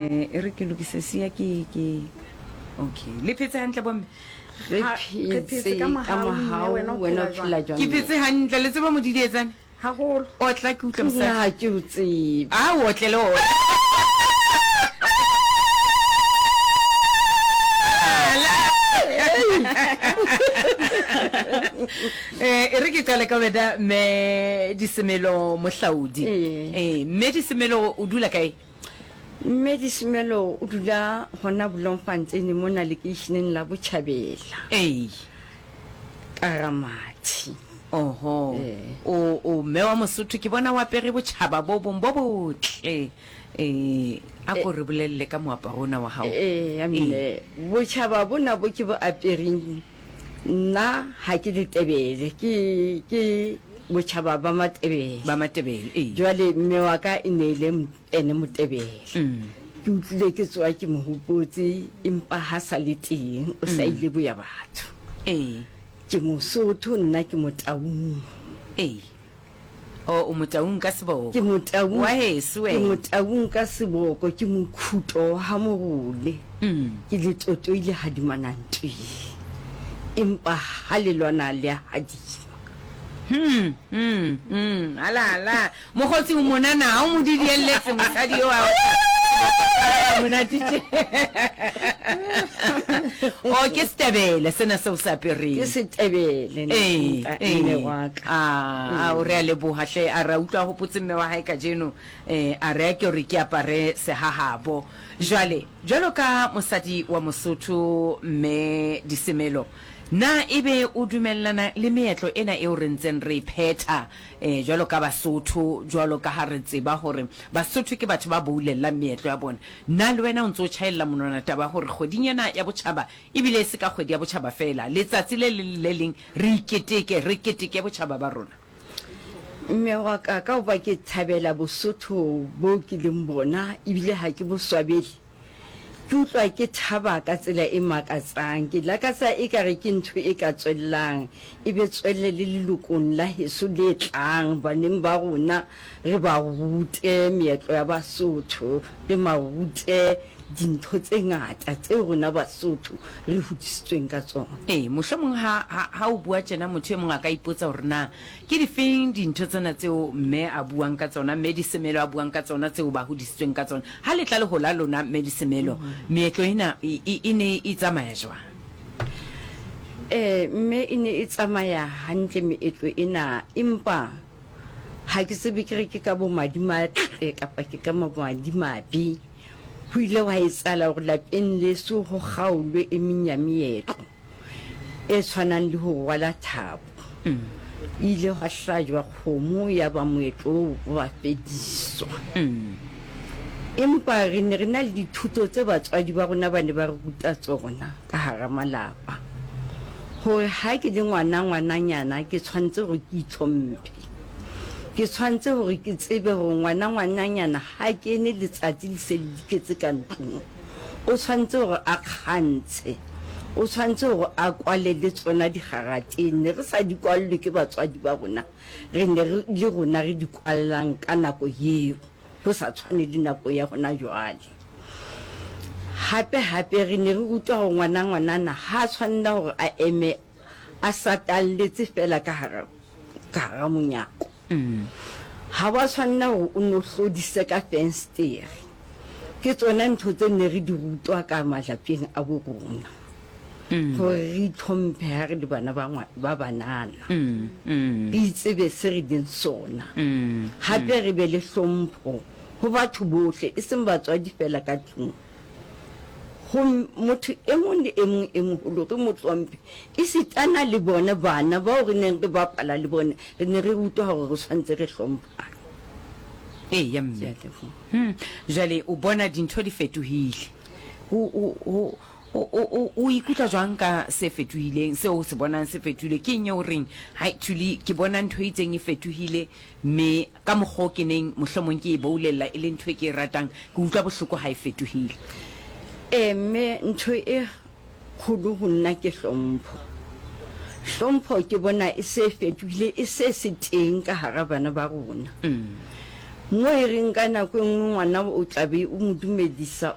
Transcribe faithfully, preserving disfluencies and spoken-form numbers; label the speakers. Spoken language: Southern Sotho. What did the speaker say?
Speaker 1: Eh, e re ke lokise sia ke ke okay. Le phetse hantle bomme?
Speaker 2: Re
Speaker 3: Ha- re
Speaker 2: phetse
Speaker 3: phetse
Speaker 2: ka
Speaker 3: ka
Speaker 2: mohau,
Speaker 3: mohau,
Speaker 2: mme
Speaker 3: mme wena o
Speaker 2: wena o
Speaker 3: phela
Speaker 2: phela jwang?
Speaker 1: Ke phetse hantle, le tseba modidietsane?
Speaker 3: Haholo.
Speaker 1: Otla ke utlwe mosadi.
Speaker 2: Nna ha ke o tsebe.
Speaker 1: A o otle le ona. Eh, e re ke qale ka wena mme Disemelo Mohlaodi.
Speaker 2: Ee.
Speaker 1: Eh, mme Disemelo o dula kae?
Speaker 2: Mme Disemelo o dula hona Bloemfontein mona lekeisheneng la Botjhabela.
Speaker 1: Ee.
Speaker 2: Karamathi.
Speaker 1: Oho.
Speaker 2: Ee.
Speaker 1: O o mme wa Mosotho, ke bona o apere botjhaba bo bong bo botle. Eh, a ko re bolelle ka moaparo ona wa hao.
Speaker 2: Ee, mme botjhaba bona bo ke bo apereng nna ha ke Letebele, ke ke botjhaba ba Matebele.
Speaker 1: Ba Matebele, ee.
Speaker 2: Jwale mme wa ka e ne e le ene Motebele.
Speaker 1: Mm.
Speaker 2: Ke utlwile ke tsoha ke mo hopotse, empa ha sa le teng, o sa ile boya batho.
Speaker 1: Ee.
Speaker 2: Ke Mosotho nna, ke Motaung.
Speaker 1: Ee. O, o Motaung ka seboko.
Speaker 2: Ke Motaung.
Speaker 1: Wa heso
Speaker 2: Ke
Speaker 1: wena.
Speaker 2: Motaung ka seboko, ke mokhuto wa ha Morole.
Speaker 1: Mm.
Speaker 2: Ke letotoile hadimana ntweng. Empa ha le lwana le a hadima.
Speaker 1: Hmm, hmm, hmm. Ala, ala. Mokgotsi o monana, ha o mo didielletse mosadi eo a otla. Monate tje. O ke Setebele sena seo se apereng.
Speaker 2: Ke Setebele
Speaker 1: Ee,
Speaker 2: nta
Speaker 1: ee.
Speaker 2: mme wa ka.
Speaker 1: Ah, a o re a leboha hle, a re a utlwa a hopotse mme wa hae kajeno, eh, a re a ke hore ke apare sehahabo. Jwale, jwalo ka mosadi wa Mosotho mme Disemelo, na ebe o dumellana le meetlo ena eo re ntseng re e phetha eh, jwalo ka Basotho, jwalo ka ha re tseba hore Basotho ke batho ba boulellang meetlo ya bona? Na le wena o ntse o tjhaella monwana taba ya hore kgweding ena ya botjhaba, ebile e se ka kgwedi ya botjhaba feela, letsatsi le leng le le leng re iketeke, re keteke botjhaba ba rona?
Speaker 2: Mme wa ka, ka hoba ke thabela Bosotho bo ke leng bona, ebile ha ke bo swabele, ke utlwa ke thaba ka tsela e makatsang. Ke lakatsa ekare ke ntho e ka tswellang, e be tswelle le lelokong la heso le tlang, baneng ba rona re ba rute meetlo ya Basotho, re ma rute dintho tse ngata tseo rona Basotho re hodisitsweng ka tsona.
Speaker 1: Ee, mohlomong ha, ha, ha o bua tjena motho e mong a ka ipotsa hore na ke difeng dintho tsena tseo mme a buang ka tsona, mme Disemelo a buang ka tsona, tseo ba hodisitsweng ka tsona. Ha le tla le hola lona, mme Disemelo, meetlo ena e, e, e ne e tsamaya jwang?
Speaker 2: Eh, mme e ne e tsamaya hantle meetlo ena, empa ha ke tsebe ke re ke ka bomadimatle kapa ke ka madimabe. Ho ile hwa etsahala hore lapeng leso ho kgaolwe e meng ya meetlo e tshwanang le ho rwala thapo. E ile hwa hlajwa kgomo yaba moetlo oo wa fediswa. Empa re ne re na le dithuto tse batswadi ba rona ba ne ba re ruta tsona ka hara malapa. Hore ha ke le ngwana ngwananyana ke tshwanetse hore ke itlhomphe. Ke tshwanetse hore ke tsebe hore ngwana ngwananyana ha kene letsatsi le se le diketse ka ntlong. O tshwanetse hore a kgantshe. O tshwanetse hore a kwale le tsona digarateng. Ne re sa di kwallwe ke batswadi ba rona. Re ne re le rona re di kwallang ka nako eo. Ho sa tshwane le nako ya hona jwale. Hape hape re ne re rutwa hore ngwana ngwanana ha tshwanela hore a eme a satalletse fela ka hara, ka hara monyako. Ha wa tshwanela hore o no hlodise ka fenstere. Ke tsona ntho tse ne re di rutwa ka malapeng a bo rona. Hore re itlhomphe ha re le bana ba ngwa, ba banana. Re itsebe se re leng sona. Hape re be le hlompho ho batho bohle, e seng batswadi fela ka tlung. Ho motho e mong le e mong e moholo re mo hlomphe, esitana le bona bana bao re neng re bapala le bona, re ne re rutwa hore re tshwanetse re hlomphane.
Speaker 1: Eya mme.
Speaker 2: Ke a leboha.
Speaker 1: Hmm. Jwale o bona dintho di fetohile. O, o, o, o, o, o, o ikutlwa jwang ka se fetohileng, seo o se bonang se fetohile? Ke eng eo o reng, hai Thuli, ke bona ntho e itseng e fetohile, mme ka mokgwa o ke neng mohlomong ke e boulella e le ntho e ke e ratang, ke utlwa bohloko ha e fetohile?
Speaker 2: Ee, mme ntho e kgolo ho nna ke hlompho. Hlompho ke bona e se fetohile, e se se teng ka hara bana ba rona. Mo e reng ka nako e nngwe ngwana o tla be o mo dumedisa.